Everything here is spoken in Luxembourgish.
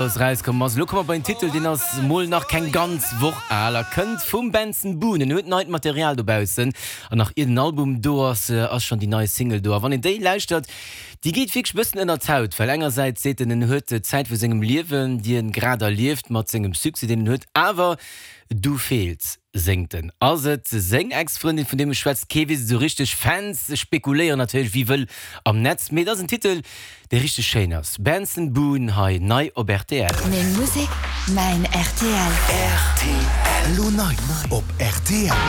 Ass erauskomm ass. Elo komme mer bei en Titel, deen ass mol nach keng ganz Woch al a kënnt vum Benson Boone. En huet neit Material dobaussen an nach ier den Album do ass, ass schonn déi nei Single do. A wann een déi lauschtert, déi geet wierklech e bëssen ënnert d'Haut, well engersäits seet en, en huet d'Zäit vu sengem Liewen, déi en grad erlieft mat sengem Succès, deen en huet, awer du feels, séngt en. Ass et seng Ex-Frëndin, vun deem e schwätzt? Kee weess et esou richteg. Fans spekuléieren natierlech wéi wëll am Netz, mee et ass en Titel, dee richteg schéin ass. Benson Boone hei nei op rtl. Meng Musek, mäin rtl. Rtl, Elo nei op rtl.